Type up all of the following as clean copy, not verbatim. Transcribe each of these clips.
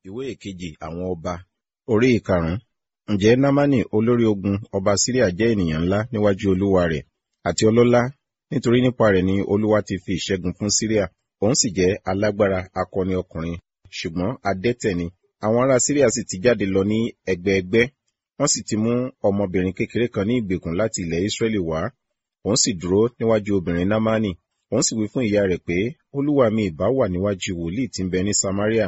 Ìwé ìkejì àwọn ọba, orí ìkarùn-ún. Ǹjẹ́ Námánì olórí ogun ọba Síríà jẹ́ ènìyàn ńlá níwájú olúwa rẹ̀ àti ọlọ́lá, nítorí nípa rẹ̀ ni Olúwa ti fi ìṣẹ́gun fún Síríà. Òun sì jẹ́ alágbára akọni ọkùnrin, ṣùgbọ́n adẹ́tẹ̀ ni. Àwọn ará Síríà sì ti jáde lọ ní ẹgbẹẹgbẹ́, wọ́n sì ti mú ọmọbìnrin kékeré kan ní ìgbèkùn láti ilẹ̀ Israẹli wá. Òun sì dúró níwájú obìnrin Námánì. Òun sì wí fún ìyá rẹ̀ pé, Olúwa mi ìbá wà níwájú wòlíì tí ń bẹ ní Samaria.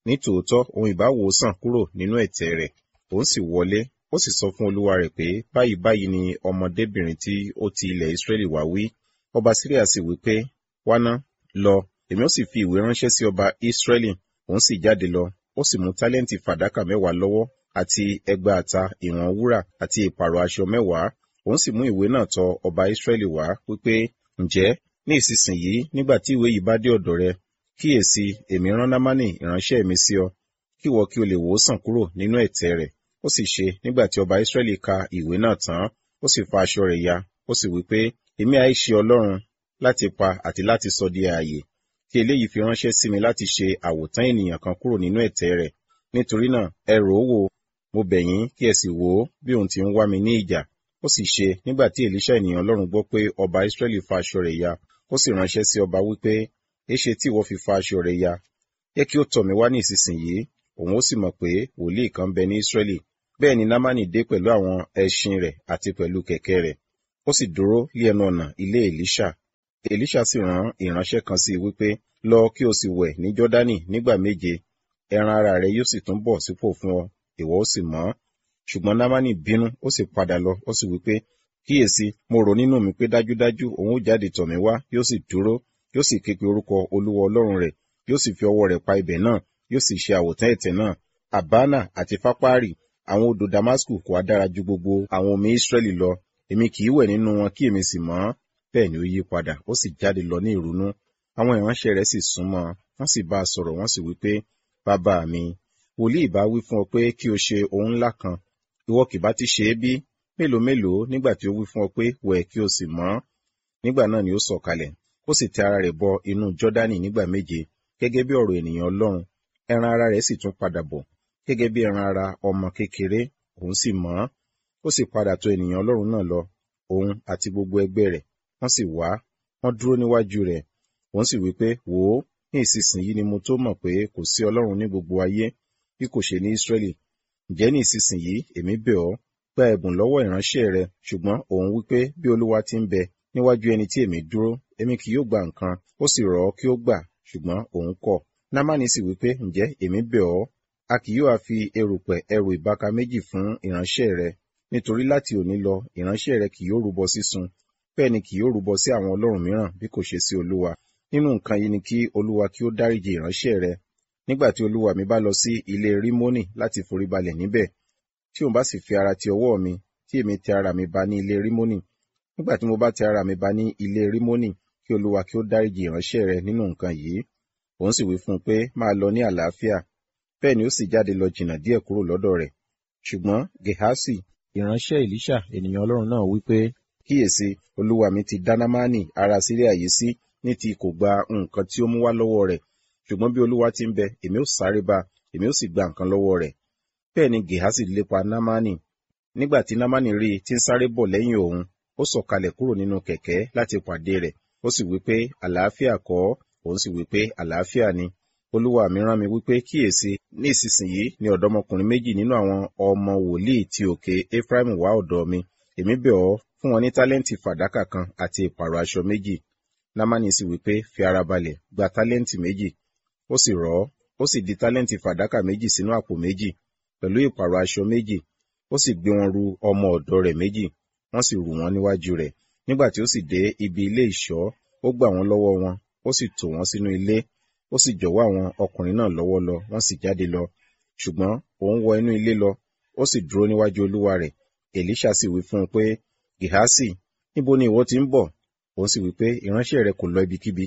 Ní tòótọ́, òun ìbá wò ó sàn kúrò nínú ẹ̀tẹ̀ rẹ̀. Òun sì wọlé, ó sì sọ fún olúwa rẹ̀ pé, báyìí báyìí ni ọmọdébìnrin tí ó ti ilẹ̀ Israẹli wá wí. Ọba Síríà sì wí pé, wá ná, lọ, èmi ó sì fi ìwé ránṣẹ́ sí ọba Israẹli. Òun sì jáde lọ, ó sì mú tálẹ́ǹtì fàdákà 10 lọ́wọ́ àti 6,000 ìwọ̀n wúrà àti ìpààrọ̀ aṣọ 10. Òun sì mú ìwé náà tọ ọba Israẹli wá, wípé, ǹjẹ́ ní ìsinsìnyí nígbà tí ìwé yìí bá dé ọ̀dọ̀ rẹ, kíyèsi, èmi rán Námánì ìránṣẹ́ mi sí ọ, kí ìwọ kí o lè wò ó sàn kúrò nínú ẹ̀tẹ̀ rẹ̀. Ó sì ṣe, nígbà tí ọba Israẹli ka ìwé náà tán, ó sì fa aṣọ rẹ̀ ya, ó sì wí pé, èmi ha ṣe Ọlọ́run láti pa àti láti sọ di ààyè, kí eléyìí fi ránṣẹ́ sí mi láti ṣe àwòtán ènìyàn kan kúrò nínú ẹ̀tẹ̀ rẹ̀. Nítorí náà, ẹ rò ó wò, mo bẹ̀ yín kí ẹ sì wò ó bí òun ti ń wá mi ní ìjà. Ó sì ṣe, nígbà tí Èlíṣà ènìyàn Ọlọ́run gbọ́ pé ọba Israẹli fa aṣọ rẹ̀ ya, ó sì ránṣẹ́ sí ọba wípé, éṣe tí ìwọ fi fa aṣọ rẹ ya? Jẹ́ kí ó tọ̀ mí wá ní ìsinsìnyí, òun ó sì mọ̀ pé wòlíì kan bẹ ní Israẹli. Bẹ́ẹ̀ ni Námánì dé pẹ̀lú àwọn ẹṣin rẹ̀ àti pẹ̀lú kẹ̀kẹ́ rẹ̀. Ó sì dúró lé ẹnu ọ̀nà ilé Èlíṣà. Èlíṣà sì rán ìránṣẹ́ kan sí i wípé, lọ kí o sì wẹ̀ ní Jọ́dánì nígbà 7, ẹran ara rẹ yóò sì tún bọ̀ sípò fún ọ, ìwọ ó sì mọ́. Ṣùgbọ́n Námánì bínú, ó sì padà lọ, ó sì wípé, kíyèsi, mo rò nínú mi pé dájúdájú òun ó jáde tọ̀ mí wá, yóò sì dúró, yóò sì ké pe orúkọ Olúwa Ọlọ́run rẹ̀, yóò sì fi ọwọ́ rẹ̀ pa ibẹ̀ náà, yóò sì ṣe àwòtán ẹ̀tẹ̀ náà. Àbánà àti Fápárì, àwọn odò Damasku kò ha dára ju gbogbo àwọn omi Israẹli lọ? Èmi kì í wẹ̀ nínú wọn kí èmi sì mọ́. Bẹ́ẹ̀ ni ó yí padà, ó sì jáde lọ ní ìrunú. Àwọn ìránṣẹ́ rẹ̀ sì súnmọ́, wọ́n sì bá a sọ̀rọ̀, wọ́n sì wí pé, bàbá mi, wòlíì ìbá wí fún ọ pé kí o ṣe ohun ńlá kan, ìwọ kì bá ti ṣe é bí? Mélòó mélòó nígbà tí ó wí fún ọ pé, wẹ̀ kí o sì mọ́. Nígbà náà ni ó sọ̀kalẹ̀, ó sì tẹ ara rẹ̀ bọ inú Jọ́dánì nígbà 7, gẹ́gẹ́ bí ọ̀rọ̀ ènìyàn Ọlọ́run. Ẹran ara rẹ̀ sì tún padà bọ̀, gẹ́gẹ́ bí ẹran ara ọmọ kékeré, òun sì mọ́. Ó sì padà tọ̀ ènìyàn Ọlọ́run náà lọ, òun àti gbogbo ẹgbẹ́ rẹ̀, wọ́n sì wá, wọ́n dúró níwájú rẹ̀. Òun sì wí pé, wò ó, ní ìsinsìnyí ni mo tó mọ̀ pé kò sí Ọlọ́run ní gbogbo ayé, bí kò ṣe ní Israẹli. Ǹjẹ́ ní ìsinsìnyí èmi bẹ̀ ọ́, gba ẹ̀bùn lọ́wọ́ ìránṣẹ́ rẹ. Ṣùgbọ́n òun wí pé, bí Olúwa ti ń bẹ, níwájú ẹni tí èmi dúró, èmi kì yóò gba nǹkan. Ó sì rọ̀ ọ́ kí ó gbà, ṣùgbọ́n òun kọ̀. Námánì sì wí pé, ǹjẹ́ èmi bẹ̀ ọ́, a kì yóò ha fi erùpẹ̀ ẹrù ìbáka 2 fún ìránṣẹ́ rẹ, nítorí láti òní lọ ìránṣẹ́ rẹ kì yóò rúbọ sísun, bẹ́ẹ̀ ni kì yóò rúbọ sí àwọn ọlọ́run mìíràn bí kò ṣe sí Olúwa. Nínú nǹkan yìí ni kí Olúwa kí ó dáríjì ìránṣẹ́ rẹ. Nígbà tí olúwa mi bá lọ sí ilé Rímónì láti foríbalẹ̀ níbẹ̀, tí òun bá sì fi ara ti ọwọ́ mi, tí èmi tẹ ara mi ba ní ilé Rímónì, nígbà tí mo bá tẹ ara mi ba ní ilé Rímónì, kí Olúwa kí ó dáríjì ìránṣẹ́ rẹ nínú nǹkan yìí. Òun sì wí fún un pé, máa lọ ní àlàáfíà. Bẹ́ẹ̀ ni ó sì jáde lọ jìnnà díẹ̀ kúrò lọ́dọ̀ rẹ̀. Ṣùgbọ́n Gehasi, ìránṣẹ́ Èlíṣà ènìyàn Ọlọ́run náà wí pé, kíyèsi, olúwa mi ti dá Námánì ará Síríà yìí sí ní ti kò gba nǹkan tí ó mú wá lọ́wọ́ rẹ̀. Ṣùgbọ́n bí Olúwa ti ń bẹ, èmi ó sáré bá, èmi ó sì gba nǹkan lọ́wọ́ rẹ̀. Bẹ́ẹ̀ ni Gehasi lépa Námánì. Nígbà tí Námánì rí i tí ń sáré bọ̀ lẹ́yìn òun, ó sọ̀kalẹ̀ kúrò nínú kẹ̀kẹ́ láti pàdé rẹ̀. Ó sì wí pé, àlàáfíà kọ́? Òun sì wí pé, àlàáfíà ni. Olúwa mi rán mi wípé, kíyèsi, ní ìsinsìnyí ni ọ̀dọ́mọkùnrin 2 nínú àwọn ọmọ wòlíì ti òkè Efraimu wá ọ̀dọ̀ mi. Èmi bẹ̀ ọ́, fún wọn ní tálẹ́ǹtì fàdákà kan àti ìpààrọ̀ aṣọ 2. Námánì sì wí pé, fi ara balẹ̀, gba tálẹ́ǹtì 2. Ó sì rọ̀ ọ́, ó sì di tálẹ́ǹtì fàdákà 2 sínú àpò 2, pẹ̀lú ìpààrọ̀ aṣọ 2. Ó sì gbé wọn ru ọmọ ọ̀dọ̀ rẹ̀ 2, wọ́n sì rù wọ́n níwájú rẹ̀. Nígbà tí ó sì dé ibi ilé ìṣọ́, ó gbà wọ́n lọ́wọ́ wọn, ó sì tò wọ́n sínú ilé, ó sì jọ̀wọ́ àwọn ọkùnrin náà lọ́wọ́ lọ, wọ́n sì jáde lọ. Ṣùgbọ́n òun wọ inú ilé lọ, ó sì dúró níwájú olúwa rẹ̀. Èlíṣà sì wí fún un pé, Gehasi, níbo ni ìwọ ti ń bọ̀? Òun sì wí pé, ìránṣẹ́ rẹ kò lọ ibikíbi.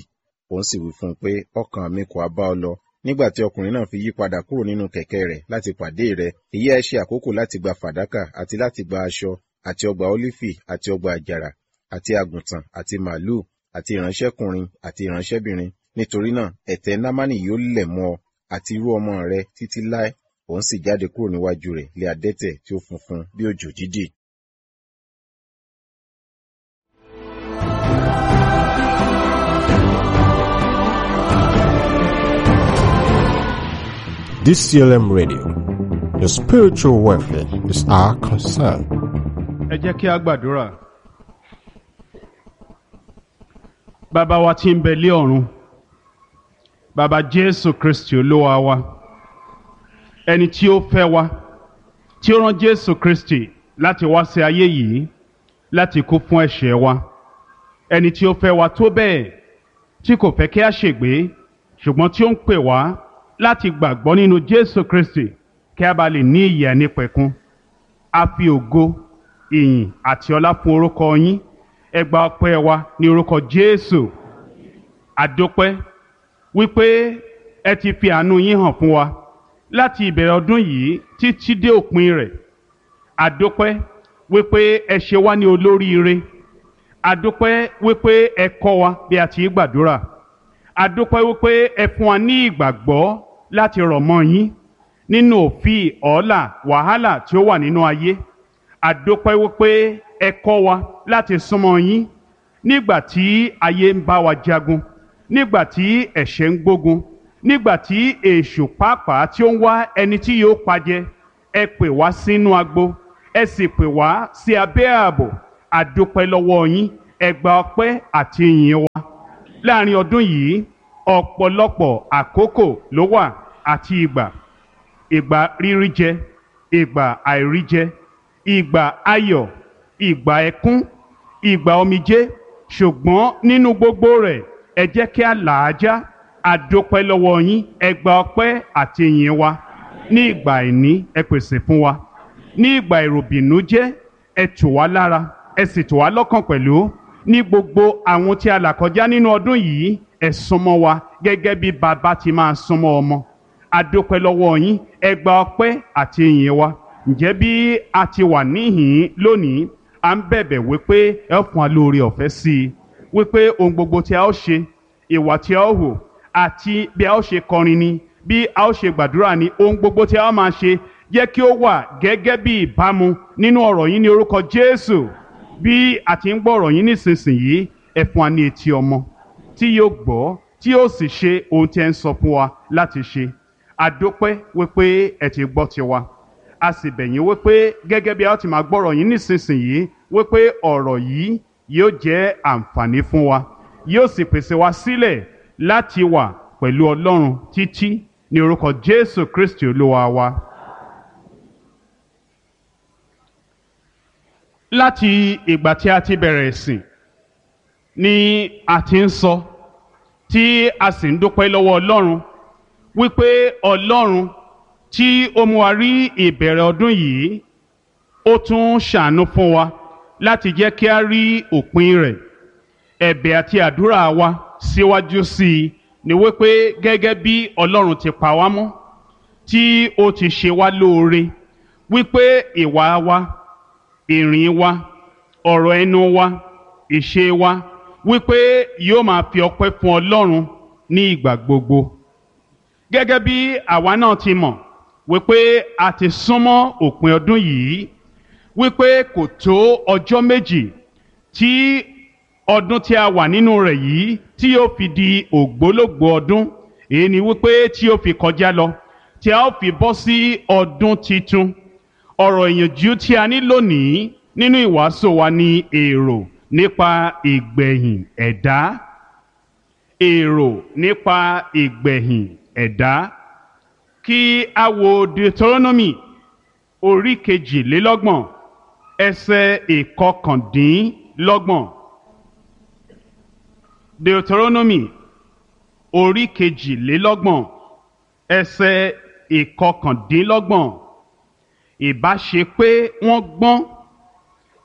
Òun sì wí fún un pé, ọkàn mi kò ha bá ọ lọ. Nígbà tí ọkùnrin náà fi yí padà kúrò nínú kẹ̀kẹ́ rẹ̀ láti pàdé rẹ̀, èyí ha ṣe àkókò láti gba fàdákà àti láti gba aṣọ àti ọgbà ólífì àti ọgbà àjàrà àti àgùntàn àti màlúù àti ìránṣẹ́kùnrin àti ìránṣẹ́bìnrin. Nítorí náà, ẹ̀tẹ̀ Námánì yóò lẹ̀ mọ́ ọ àti irú ọmọ rẹ títí láé. Òun sì jáde kúrò níwájú rẹ̀ lé adẹ́tẹ̀ tí ó funfun bí òjò dídì. DCLM Radio. Your spiritual welfare is our concern. Ẹ jẹ́ kí a gbàdúrà. Bàbá wa tí ń bẹ lé ọ̀run, Bàbá Jésù Kristi Olúwa wa, ẹni tí ó fẹ́ wa, tí ó rán Jésù Kristi láti wá sí ayé yìí láti kú fún ẹ̀ṣẹ̀ wa, ẹni tí ó fẹ́ wa tó bẹ́ẹ̀ tí kò fẹ́ kí a ṣègbé, ṣùgbọ́n tí ó ń pè wá láti gbàgbọ́ nínú Jésù Kristi kí a bá lè ní ìyè àìnípẹ̀kun. A fi ògo, ìyìn àti ọlá fún orúkọ yín. Ẹ gba ọpẹ́ wa ní orúkọ Jésù. Àdópẹ́ wípé ẹ ti fi àánú yín hàn fún wa láti ìbẹ̀rẹ̀ ọdún yìí títí dé òpin rẹ̀. Àdópẹ́ wípé ẹ ṣe wá ní olóríire. Àdópẹ́ wípé ẹ kọ́ wa bí a ti gbàdúrà. Àdópẹ́ wípé ẹ fún wa ní ìgbàgbọ́ láti rọ̀ mọ́ yín nínú òfin ọ̀ọ́là wàhálà tí ó wà nínú ayé. Àdópẹ́ wípé ẹ kọ́ wa láti súnmọ́ yín nígbà tí ayé ń bá wa jagun, nígbà tí ẹ̀ṣẹ̀ ń gbógun, nígbà tí èṣù pàápàá tí ó ń wá ẹni tí yóò pajẹ. Ẹ pè wá sínú agbo, ẹ sì pè wá sí abẹ́ ààbò. Àdópẹ́ lọ́wọ́ yín. Ẹ gba ọpẹ́ àti ìyìn wa. Láàrin ọdún yìí, ọ̀pọ̀lọpọ̀ àkókò ló wà àti ìgbà. Ìgbà rírí jẹ, ìgbà àìrí jẹ, ìgbà ayọ̀, ìgbà ẹkún, ìgbà omijé. Ṣùgbọ́n nínú gbogbo rẹ̀, ẹ jẹ́ kí a là á já. Àdópẹ́ lọ́wọ́ yín. Ẹ gba ọpẹ́ àti ìyìn wa. Ní ìgbà àìní, ẹ pèsè fún wa. Ní ìgbà ìròbìnújẹ́, ẹ tù wá lára, ẹ sì tù wá lọ́kàn pẹ̀lú. Ní gbogbo àwọn tí a là kọjá nínú ọdún yìí, ẹ súnmọ́ wa gẹ́gẹ́ bí bàbá ti máa súnmọ́ ọmọ. Àdópẹ́ lọ́wọ́ yín. Ẹ gba ọpẹ́ àti ìyìn wa. Ǹjẹ́ bí a ti wà níhìn-ín lónìí, à ń bẹ̀bẹ̀ wípé ẹ ó fún wa lóore ọ̀fẹ́ sí i, wípé ohun gbogbo tí a ó ṣe, ìwà tí a ó hù, àti bí a ó ṣe kọrin ni, bí a ó ṣe gbàdúrà ni, ohun gbogbo tí a ó máa ṣe, jẹ́ kí ó wà gẹ́gẹ́ bí ìbámu nínú ọ̀rọ̀ yín ní orúkọ Jésù. Bí a ti ń gbọ́ ọ̀rọ̀ yín nísinsìnyí, ẹ fún wa ní etí ọmọ tí yóò gbọ́, tí yóò sì ṣe ohun tí ẹ ń sọ fún wa láti ṣe. Àdópẹ́ wípé ẹ ti gbọ́ tiwa. A sì bẹ̀ yín wípé gẹ́gẹ́ bí a ó ti máa gbọ́rọ̀ yín nísinsìnyí, wípé ọ̀rọ̀ yìí yóò jẹ́ àǹfààní fún wa, yóò sì pèsè wa sílẹ̀ láti wà pẹ̀lú Ọlọ́run títí ní orúkọ Jésù Kristi Olúwa wa. Láti ìgbà tí a ti bẹ̀rẹ̀ ìsìn ni a ti ń sọ, tí a sì ń dúpẹ́ lọ́wọ́ Ọlọ́run wípé Ọlọ́run tí ó mú wa rí ìbẹ̀rẹ̀ ọdún yìí, ó tún ṣàánú fún wa láti jẹ́ kí a rí òpin rẹ̀. Ẹ̀bẹ̀ àti àdúrà wa síwájú sí i ni wípé gẹ́gẹ́ bí Ọlọ́run ti pa wá mọ́, tí ó ti ṣe wá lóore, wípé ìwà wa, ìrìn wa, ọ̀rọ̀ ẹnu wa, ìṣe wa, wípé yóò máa fi ọpẹ́ fún Ọlọ́run ní ìgbà gbogbo. Gẹ́gẹ́ bí àwa náà ti mọ̀ wípé a ti súnmọ́ òpin ọdún yìí, wípé kò tó ọjọ́ méjì tí ọdún tí a wà nínú rẹ̀ yìí tí yóò fi di ògbólógbòó ọdún. Èyí ni wípé tí yóò fi kọjá lọ, tí a ó fi bọ́ sí ọdún titun. Ọ̀rọ̀ ìyànjú tí a ní lónìí nínú ìwàásù wa ni èrò nípa ìgbẹ̀yìn ẹ̀dá. Èrò nípa ìgbẹ̀yìn ẹ̀dá. Kí a wo Deuteronomy orí 22, ẹsẹ̀ 29. Deuteronomy orí 22, ẹsẹ̀ 29. Ìbá ṣe pé wọ́n gbọ́n,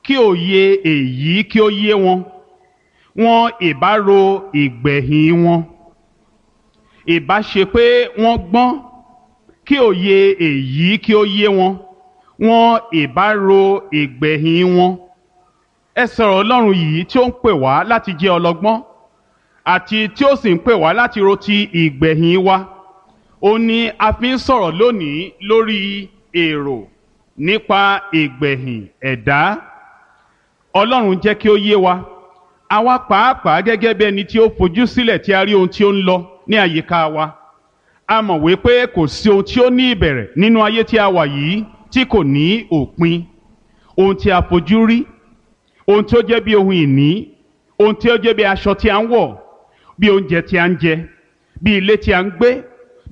kí òye èyí kí ó yé wọn, wọn ìbá ro ìgbẹ̀yìn wọn. Ìbá ṣe pé wọ́n gbọ́n, kí òye èyí kí ó yé wọn, wọn ìbá ro ìgbẹ̀yìn wọn. Ẹ sọ̀rọ̀ Ọlọ́run yìí tí ó ń pè wá láti jẹ́ ọlọ́gbọ́n, àti tí ó sì ń pè wá láti ro ti ìgbẹ̀yìn wa. Ó ní a fi ń sọ̀rọ̀ lónìí lórí èrò nípa ìgbẹ̀yìn ẹ̀dá. Ọlọ́run jẹ́ kí ó yé wa, àwa pàápàá gẹ́gẹ́ bí ẹni tí ó fojú sílẹ̀ tí a rí ohun tí ó ń lọ ní àyíká wa. A mọ̀ wípé kò sí ohun tí ó ní ìbẹ̀rẹ̀ nínú ayé tí a wà yìí tí kò ní òpin. Ohun tí a fojú rí, ohun tí ó jẹ́ bí ohun ìní, ohun tí ó jẹ́ bí aṣọ tí a ń wọ̀, bí oúnjẹ tí a ń jẹ, bí ilé tí a ń gbé,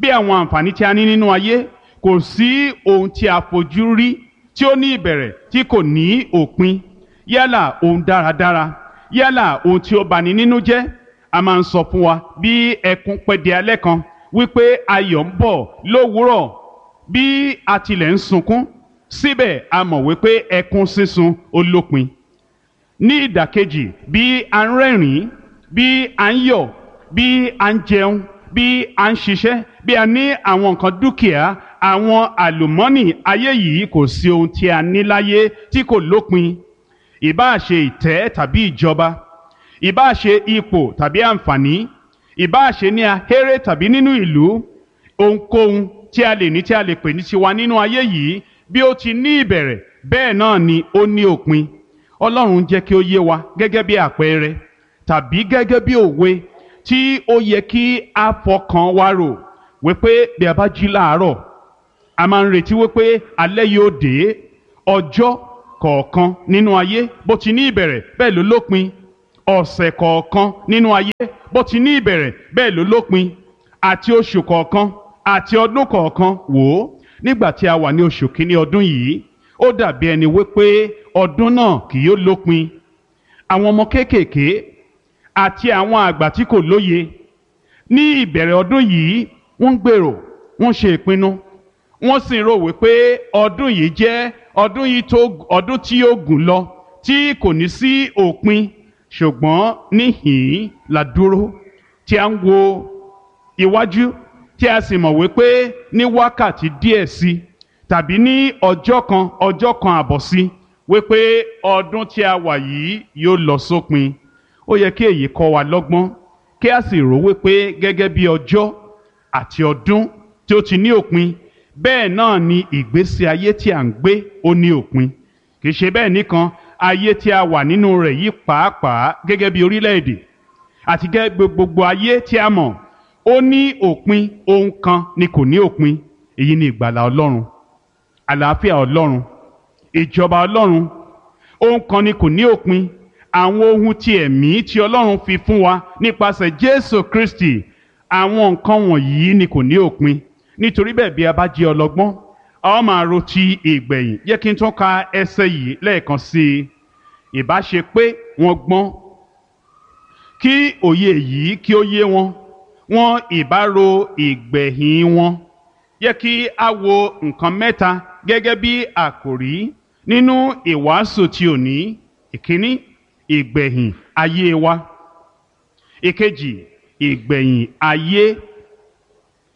bí àwọn àǹfààní tí a ní nínú ayé, kò sí ohun tí a fojú rí tí ó ní ìbẹ̀rẹ̀ tí kò ní òpin. Yálà ohun dáradára, yálà ohun tí ó bani nínú jẹ́, a máa ń sọ fún wa bí ẹkún pẹ́ di alẹ́ kan wípé ayọ̀ ń bọ̀ lówùúrọ̀. Bí a tilẹ̀ ń sunkún, síbẹ̀ a mọ̀ wípé ẹkún sísun ó lópin. Ní ìdàkejì, bí a ń rẹ́rìn-ín, bí a ń yọ̀, bí a ń jẹun, bí a ń ṣiṣẹ́, bí a ní àwọn nǹkan dúkìá, àwọn àlùmọ́nì ayé yìí, kò sí ohun tí a ní láyé tí kò lópin. Ìbáà ṣe ìtẹ́ tàbí ìjọba, ìbáà ṣe ipò tàbí àǹfààní, ìbáà ṣe ní ahéré tàbí nínú ìlú, ohunkóhun tí a lè ní tí a lè pè ní tiwa nínú ayé yìí, bí ó ti ní ìbẹ̀rẹ̀, bẹ́ẹ̀ náà ni ó ní òpin. Ọlọ́run jẹ́ kí ó yé wa gẹ́gẹ́ bí àpẹẹrẹ tàbí gẹ́gẹ́ bí òwe tí ó yẹ kí a fọkàn wa rò wípé bí a bá jí láàárọ̀, a máa ń retí wípé alẹ́ yóò dé. Ọjọ́ kọ̀ọ̀kan nínú ayé, bó ti ní ìbẹ̀rẹ̀, bẹ́ẹ̀ ló lópin. Ọ̀sẹ̀ kọ̀ọ̀kan nínú ayé, bó ti ní ìbẹ̀rẹ̀, bẹ́ẹ̀ ló lópin, àti oṣù kọ̀ọ̀kan àti ọdún kọ̀ọ̀kan. Wò ó, nígbà tí a wà ní oṣù kínní ọdún yìí, ó dàbí ẹni wípé ọdún náà kì yóò lópin. Àwọn ọmọ kéékèèké àti àwọn àgbà tí kò lóye, ní ìbẹ̀rẹ̀ ọdún yìí, wọ́n ń gbèrò, wọ́n ṣe ìpinnu, wọ́n sì ń rò wípé ọdún yìí jẹ́ ọdún yìí tó ọdún tí yóò gùn lọ tí kò ní sí òpin. Ṣùgbọ́n níhìn-ín la dúró tí a ń wo iwájú, tí a sì mọ̀ wípé ní wákàtí díẹ̀ sí tàbí ní ọjọ́ kan, ọjọ́ kan àbọ̀ sí, wípé ọdún tí a wà yìí yóò lọ sópin. Ó yẹ kí èyí kọ́ wa lọ́gbọ́n, kí a sì rò wípé gẹ́gẹ́ bí ọjọ́ àti ọdún tí ó ti ní òpin, bẹ́ẹ̀ náà ni ìgbésí ayé tí à ń gbé ó ní òpin. Kì í ṣe bẹ́ẹ̀ nìkan, ayé tí a wà nínú rẹ̀ yìí pàápàá gẹ́gẹ́ bí orílẹ̀-èdè àti gẹ́gẹ́ gbogbo ayé tí a mọ̀, ó ní òpin. Ohun kan ni kò ní òpin, èyí ni ìgbàlà Ọlọ́run, àlàáfíà Ọlọ́run, ìjọba Ọlọ́run. Ohun kan ni kò ní òpin, àwọn ohun ti ẹ̀mí tí Ọlọ́run fi fún wa nípasẹ̀ Jésù Kristi. Àwọn nǹkan wọ̀nyí ni kò ní òpin. Nítorí bẹ́ẹ̀, bí a bá jẹ́ ọlọ́gbọ́n, a ó máa ro ti ìgbẹ̀yìn. Yẹ kí n tún ka ẹsẹ̀ yìí lẹ́ẹ̀kan sí i. Ìbá ṣe pé wọ́n gbọ́n, kí òye yìí kí ó yé wọn, wọn ìbá ro ìgbẹ̀yìn wọn. Yẹ kí a wo nǹkan mẹ́ta gẹ́gẹ́ bí àkòrí nínú ìwàásù tí òní. Ìkíní, ìgbẹ̀yìn ayé wa. Ìkejì, ìgbẹ̀yìn ayé.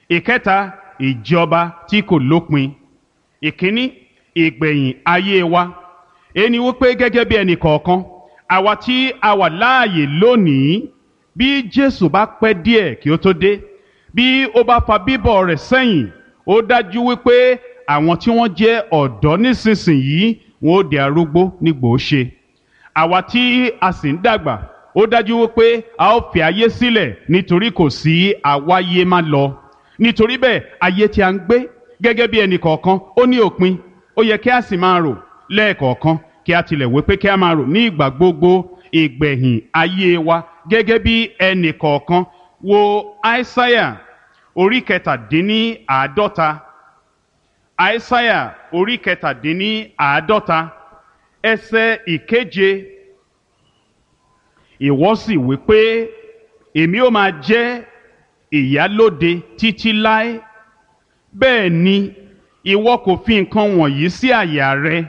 Ìkẹta, ìjọba tí kò lópin. Ìkíní, ìgbẹ̀yìn ayé wa. Ẹni wípé gẹ́gẹ́ bí ẹnì kọ̀ọ̀kan, àwa tí a wà láàyè lónìí, bí Jésù bá pẹ́ díẹ̀ kí ó tó dé, bí ó bá fa bíbọ̀ rẹ̀ sẹ́yìn, ó dájú wípé àwọn tí wọ́n jẹ́ ọ̀dọ́ nísinsìnyí, wọn ó di arúgbó nígbò ó ṣe. Àwa tí a sì ń dàgbà, ó dájú wípé a ó fi ayé sílẹ̀, nítorí kò sí àwáyé má lọ. Nítorí bẹ́ẹ̀, ayé tí a ń gbé gẹ́gẹ́ bí ẹnì kọ̀ọ̀kan ó ní òpin. Ó yẹ kí a sì máa rò lẹ́ẹ̀kọ̀ọ̀kan, kí a tilẹ̀ wípé kí a máa rò ní ìgbà gbogbo ìgbẹ̀yìn ayé wa gẹ́gẹ́ bí ẹnì kọ̀ọ̀kan. Wo Aísáyà orí 47. Aísáyà orí 47, ẹsẹ̀ ìkeje. Ìwọ sì wí pé, èmi ó máa jẹ́ ìyálóde títí láé. Bẹ́ẹ̀ ni ìwọ kò fi nǹkan wọ̀nyí sí àyà rẹ,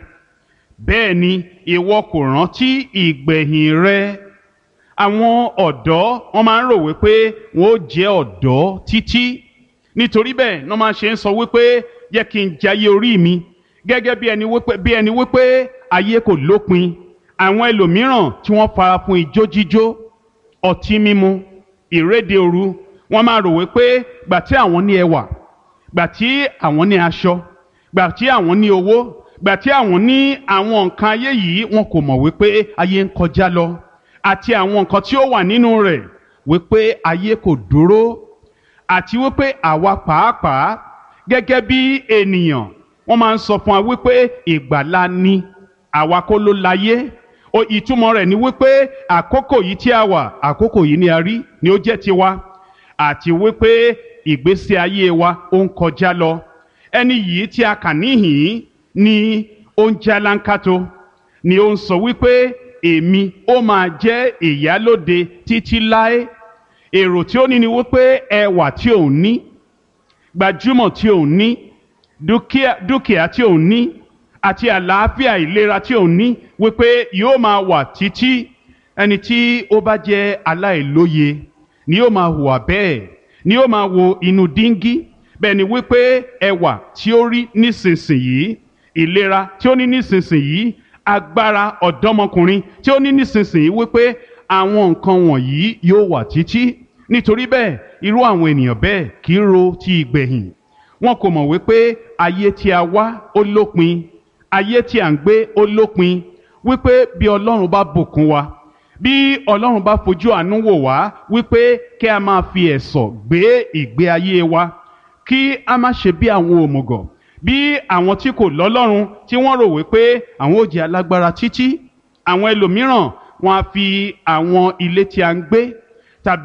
bẹ́ẹ̀ ni ìwọ kò rántí ìgbẹ̀yìn rẹ. Àwọn ọ̀dọ́, wọ́n máa ń rò wípé wọ́n ó jẹ́ ọ̀dọ́ títí. Nítorí bẹ́ẹ̀ ní wọ́n máa ṣe ń sọ wípé yẹ kí n jayé orí mi gẹ́gẹ́ bí ẹni wípé ayé kò lópin. Àwọn ẹlòmíràn tí wọ́n fara fún ijó jíjó, ọtí mímu, ìréde òru, wọ́n máa rò wípé gbà tí àwọn ní ẹwà Gbà tí àwọn ní aṣọ, gbà tí àwọn ní owó, gbà tí àwọn ní àwọn nǹkan ayé yìí, wọn kò mọ̀ wípé ayé ń kọjá lọ àti àwọn nǹkan tí ó wà nínú rẹ̀, wípé ayé kò dúró, àti wípé àwa pàápàá gẹ́gẹ́ bí ènìyàn, wọ́n máa ń sọ fún wa wípé ìgbàlà ni, àwa kọ́ ló láyé o. Ìtumọ̀ rẹ̀ ni wípé àkókò yìí tí a wà, àkókò yìí ni a rí ni ó jẹ́ tiwa, àti wípé ìgbésí ayé wa ó ń kọjá lọ. Ẹni yìí tí a kà níhìn ni ó ń jálánkátó, ni ó ń sọ wípé èmi ó máa jẹ́ ìyálóde títí láé. Èrò tí ó ní ni wípé ẹwà tí òun ní, gbajúmọ̀ tí òun ní, dúkìá tí òun ní, àti àlàáfíà ìlera tí òun ní, wípé yóò máa wà títí. Ẹni tí ó bá jẹ́ aláìlóye ni yóò máa hùwà bẹ́ẹ̀, ni yóò máa wo inú díngí bẹ́ẹ̀ ni wípé ẹwà tí ó rí nísinsìnyí, ìlera tí ó ní nísinsìnyí, agbára ọ̀dọ́mọkùnrin tí ó ní nísinsìnyí, wípé àwọn nǹkan wọ̀nyí yóò wà títí. Nítorí bẹ́ẹ̀, irú àwọn ènìyàn bẹ́ẹ̀ kì í ro ti ìgbẹ̀yìn. Wọn kò mọ̀ wípé ayé tí a wá ó lópin, ayé tí à ń gbé ó lópin, wípé bí Ọlọ́run bá bùkún wa, bí Ọlọ́run bá fojú àánú wò wá, wípé kí a máa fi ẹ̀sọ̀ gbé ìgbé ayé wa, kí a má ṣe bí àwọn òmùgọ̀, bí àwọn tí kò lọ́lọ́run tí wọ́n rò wípé àwọn ò jẹ́ alágbára títí. Àwọn ẹlòmíràn, wọn á fi àwọn ilé tí a ń gbé